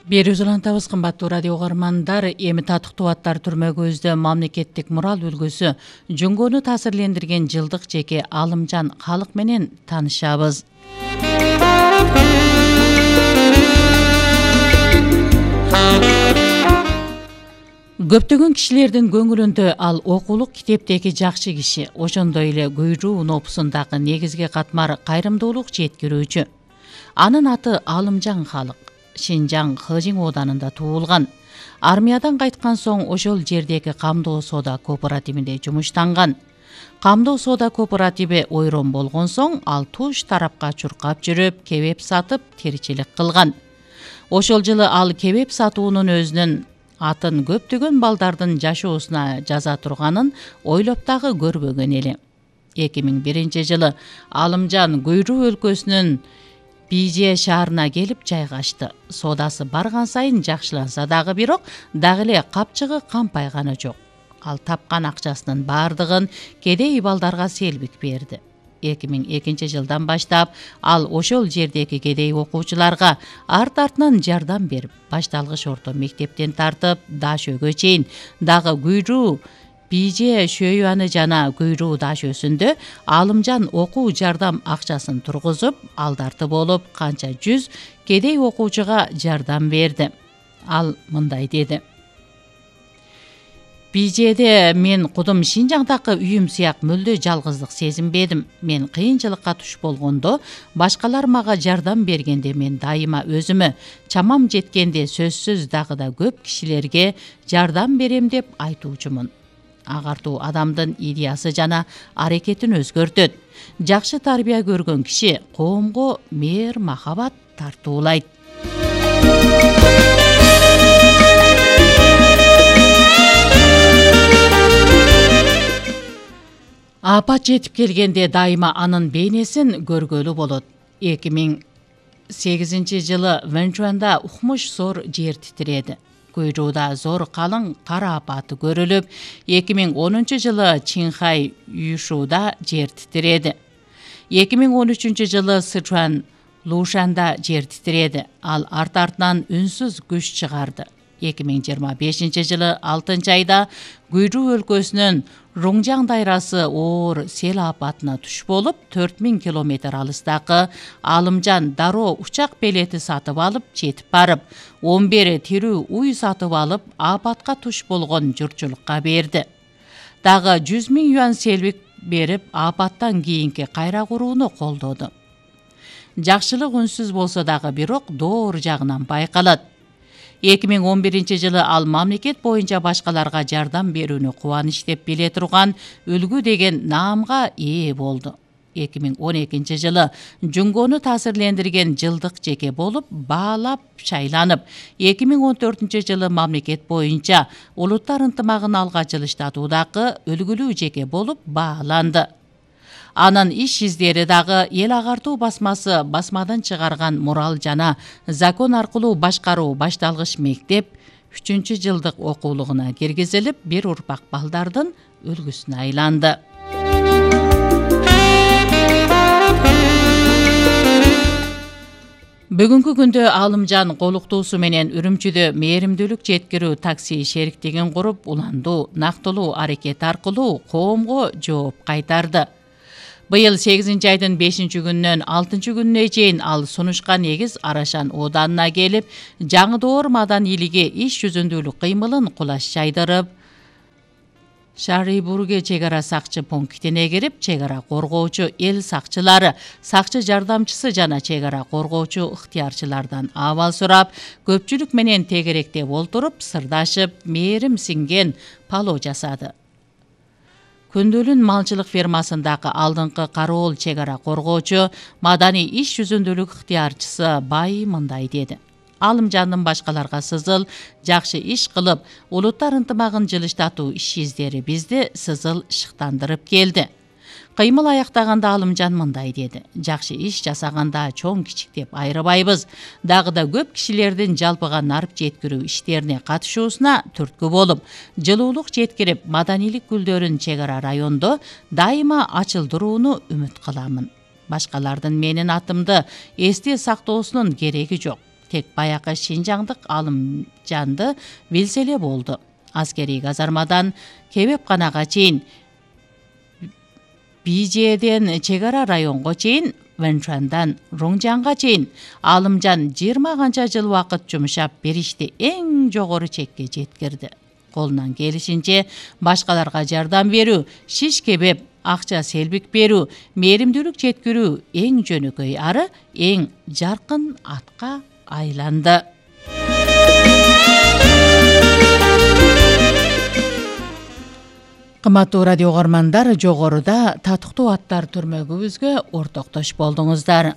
Берүүбүз улантабыз, кымбаттуу радио угармандар. Эми татыктуу аттар түрмөгүбүздө мамлекеттик мурал үлгүсү Жүнгөнү таасирлендирген жылдык жеке Алымжан Халык менен таанышабыз. Көптөгөн кишилердин көңүлүндө ал окуулук китептеги жакшы киши, ошондой эле Гүйрүү нопусундагы негизги катмар кайрымдуулук жеткирүүчү. Анын аты Алымжан Халык. Шинжаң Хыжың ооданында туулган. Армиядан кайткан соң ошол жердеги камдоо соода кооперативинде жумуштанган. Камдоо соода кооперативи ойрон болгон соң ал туш тарапка чуркап жүрүп, кебеп сатып, тиричилик кылган. Ошол жылы ал кебеп сатуунун өзүнүн атын көптөгөн балдардын жашоосуна жаза турганын ойлоп дагы көрбөгөн эле. 2001 жылы Алымжан Гүйрүү өлкөсүнүн Бийже шаарына келип жайгашты. Соодасы барган сайын жакшыланса дагы, бирок дагы эле капчыгы кампайганы жок. Ал тапкан акчасынын баардыгын кедей балдарга селбик берди. 2002 жылдан баштап ал ошол жердеги кедей окуучуларга арт-артынан жардам берип, башталгыч орто мектептен тартып Дашөөгө чейин дагы Гүйрүү Бийже Шөйүаны жана Гүйрүү Дашөсүндө Алымжан окуу жардам акчасын тургузуп, алдарты болуп канча 100 кедей окуучуга жардам берди. Ал мындай деди: Бийжеде мен кудум Шинжаңдагы үйүм сыяк мүлдө жалгыздык сезинбедим. Мен кыйынчылыкка туш болгондо, башкалар мага жардам бергенде мен дайыма өзүмө, чамам жеткенде сөзсүз дагы да көп кишилерге жардам берем деп айтуучумун. Агартуу адамдын идеясы жана аракетин өзгөртөт. Жакшы тарбия көргөн киши коомго мээр махабат тартуулайт. Апат жетип келгенде дайыма анын бейнесин көргөлү болот. 2008 жылы Венчуанда укмуш зор жер титиреди. Гүйрүүда зор калың кар апаты көрүлүп, 2010 жылы Чинхай Юшуда жер титиреди. 2013 жылы Сычуан Лушанда жер титиреди. Ал арт-артынан үнсүз күч чыгарды. 2025 жылы 6 айда Гүйрүү өлкөсүнүн Руңжаң дайрасы оор сел апатына туш болуп, 4000 километр алыстагы Алымжан дароо учак билети сатып алып жетип барып, 11 тирүү уй сатып алып, апатка туш болгон журтчулукка берди. Дагы 100 000 юан селбик берип, апаттан кийинки кайра курууну колдоду. Жакшылык үнсүз болсо дагы, бирок доор жагынан байкалат. 2011 жылы ал мамлекет боюнча башкаларга жардам берүүнү кубаныч деп биле турган үлгү деген наамга ээ болду. 2012 жылы Жүнгөнү таасирлендирген жылдык жеке болуп баалап шайланып, 2014 жылы мамлекет боюнча улуттар ынтымагын алга жылыштатуудагы үлгүлүү жеке болуп бааланды. Анын иш издери дагы эл агартуу басмасы басмадан чыгарган мурал жана закон аркылуу башкаруу башталгыч мектеп 3-жылдык окуулугуна киргизилип, бир урпак балдардын үлгүсүнө айланды. Бүгүнкү күндө Алымжан колуктуусу менен Үрүмчүдө мээримдүүлүк жеткирүү такси шериктигин куруп, уландуу, нактылуу аракет аркылуу коомго жооп кайтарды. Быйыл 8 айдын 5-күнүнөн 6-күнүнө чейин ал Сунушка негиз Арашан ооданына келип, Жаңыдоор маданилиги иш жүзүндүүлүк кыймылын кулаш жайдырып, Шарибурге чек ара сакчы пунктине кирип, чек ара коргоочу эл сакчылары, сакчы жардамчысы жана чек ара коргоочу ыктыярчылардан абал сурап, көпчүлүк менен тегеректеп олтуруп, сырдашып, мээрим сиңген пало жасады. Күндөлүн малчылык фермасындагы алдыңкы кароол чек ара коргоочу, маданий иш жүзүндүүлүк ыктыярчысы Бай мындай деди: Алымжандын башкаларга сызыл, жакшы иш кылып, улуттар ынтымагын жылыштатуу иш издери бизди сызыл шыктандырып келди. Кыймыл аяктаганда Алымжан мындай деди: Жакшы иш жасаганда чоң кичик деп айрыбайбыз. Дагы да көп кишилердин жалпыга нарып жеткирүү иштерине катышуусуна түрткү болуп, жылуулук жеткирип, маданилик гүлдөрүн чек ара райондо дайыма ачылдырууну үмүт кыламын. Башкалардын менин атымды эсте сактоосунун кереги жок. тек баякы Шинжаңдык Алымжанды билсе эле болду. Аскерий казармадан Кебепканага чейин, Bijеден чек ара районго чейин, Вэнчуандан Руңжанга чейин Алымжан 20 канча жыл убакыт жумшап бир ишти эң жогору чекке жеткирди. Колунан келишинче башкаларга жардам берүү, шиш кебеп, акча селбик берүү, мээримдүүлүк жеткирүү эң жөнөкөй ары эң жаркын атка айланды. Кымбаттуу радио угармандар, жогоруда татыктуу аттар түрмөгүбүзгө ортоктош болдуңуздар.